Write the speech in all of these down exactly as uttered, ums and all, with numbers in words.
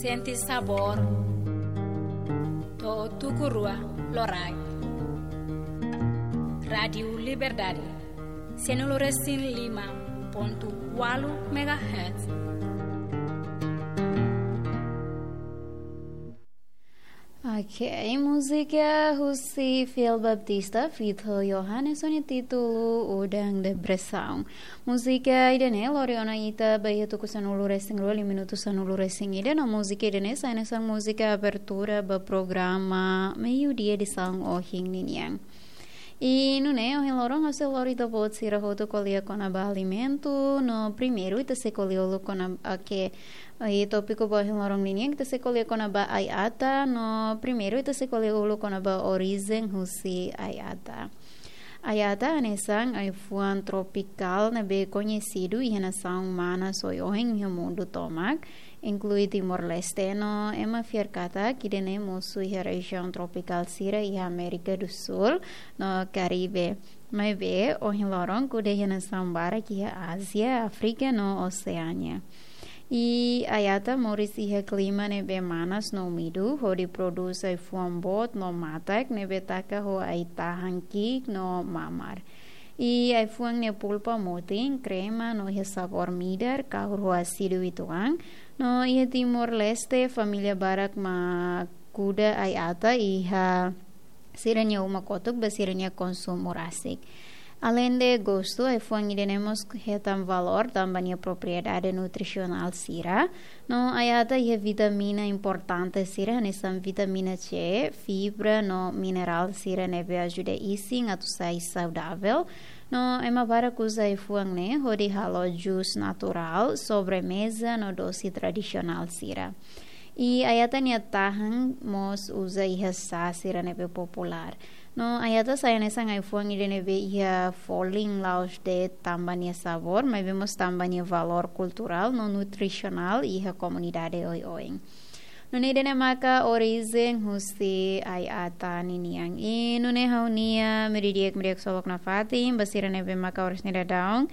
Sente sabór. To'o tuku rua loraik. Rádiu Liberdade. Sanulu resin lima pontu ualu megahertz. Ok, múzika husi Fiel Baptista, feat ho Johannes, ho nia títulu Udan Depresaun. Múzika ida-ne'e lori ona ita ba iha tuku sanulu resin rua, liu minutu sanulu resin ida, no múzika ida-ne'e sai hanesan múzika abertura ba programa Meiudia edisaun ohin ninian. I nune'e ohin loron ha'u sei lori ita-boot sira hotu ko'alia kona-ba alimentu, no primeiru ita sei ko'alia uluk kona-ba, ok, i tópiku ba ohin loron ninian ita sei ko'alia kona-ba ai-ata, no primeiru ita sei ko'alia uluk kona-ba orijen husi ai-ata. Ai-ata hanesan ai-fuan tropikál ne'ebé koñesidu iha nasaun manas oioin iha mundu tomak, inklui Timor-Leste, no ema fiar katak ida-ne'e mosu iha rejiaun tropikál sira iha Amérika do Sul no Karibe. Maibé ohin loron kuda iha nasaun barak iha Ázia, Áfrika no Oseánia. I ai-ata moris iha klima ne'ebé manas no úmidu, hodi prodús ai-fuan boot no matak ne'ebé taka ho ai-tahan ki'ik no mamar. I ai-fuan nia pulpa motin, krema no iha sabór midar, kahur ho ásidu uitoan. No iha Timor-Leste, família barak mak kuda ai-ata iha sira-nia uma kotuk ba sira-nia konsumu rasik. Aleinde gostu, ai-fuan ida-ne'e mós hetan valór tanba nia propriedade nutrisionál sira. No ai-ata iha vitamina importante sira, hanesan vitamina C, fibra no minerál sira ne'ebé ajuda isin atu sai saudavel. No ema barak uza ai-fuan ne'e hodi halo jus naturál, sobremeza no dose tradisionál sira. I ai-ata nia tahan mós uza iha sá sira ne'ebé populár. No ai-ata sai hanesan ai-fuan ida ne'ebé iha folin la'ós de'it tanba nia sabór, maibé mós tanba nia valór kulturál no nutrisionál iha komunidade oioin. Nune'e ida-ne'e maka orijen husi ai-ata ninian. I nune'e ha'u-nia meiudia di'ak, meiudia di'ak sobu nafatin, ba sira ne'ebé maka oras ne'e daudaun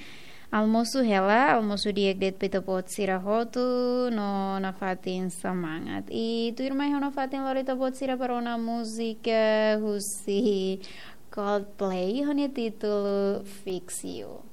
almosu hela, almosu di'ak de'it ba ita-boot sira hotu, no nafatin semangat. I tuirmai ha'u nafatin lori ita-boot sira ba rona múzika husi Coldplay, ho nia títulu Fix You.